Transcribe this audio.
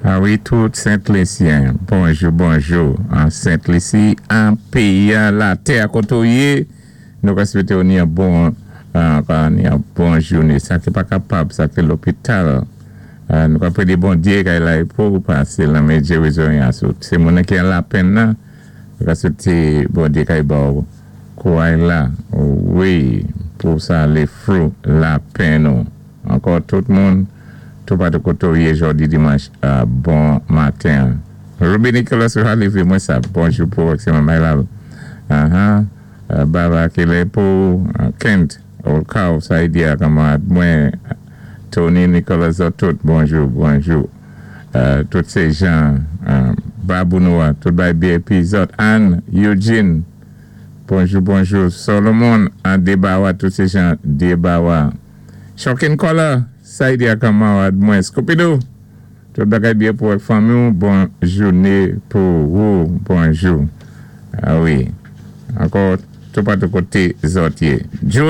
A wi, tout Sent Lisyen, bonjou, bonjou. An Sent Lisi, an péyi, latè koté ou yé, nou ka swété ni yon bon, ni yon bon jouné. Sa ki pa kapab, sa ki lopital, nou ka pwédé Bondyé kay lay pou pasé lan men gérizon. Sé moun ki an lapenn nan, nou ka swété Bondyé kay ba ou kouray la, wi, pou sa alé through lapenn nou. Ankò tout moun, toupatou koté ou yé jòdi dimanch, bon maten. Ruby Nicholas lévé mwen sa. Bonjou pou c'est my love. Baba Kile pou Kent, Olkaw, Saïdia, kanmarad mwen, Tony Nicholas tout, bonjou, bonjou. Tout sé jan, Babou Noah, tout bay BIP zòt, Anne, Eugene, bonjou, bonjou. Solomon, an Debawa, tout sé jan Debawa. Shocking Color, Saïdia kanmarad mwen, Scooby-Doo, tout bagay byen pou ak fanmi, bon jouné pou ou, bonjou. A wi, ankò, toupatou koté zòt yé. Julie.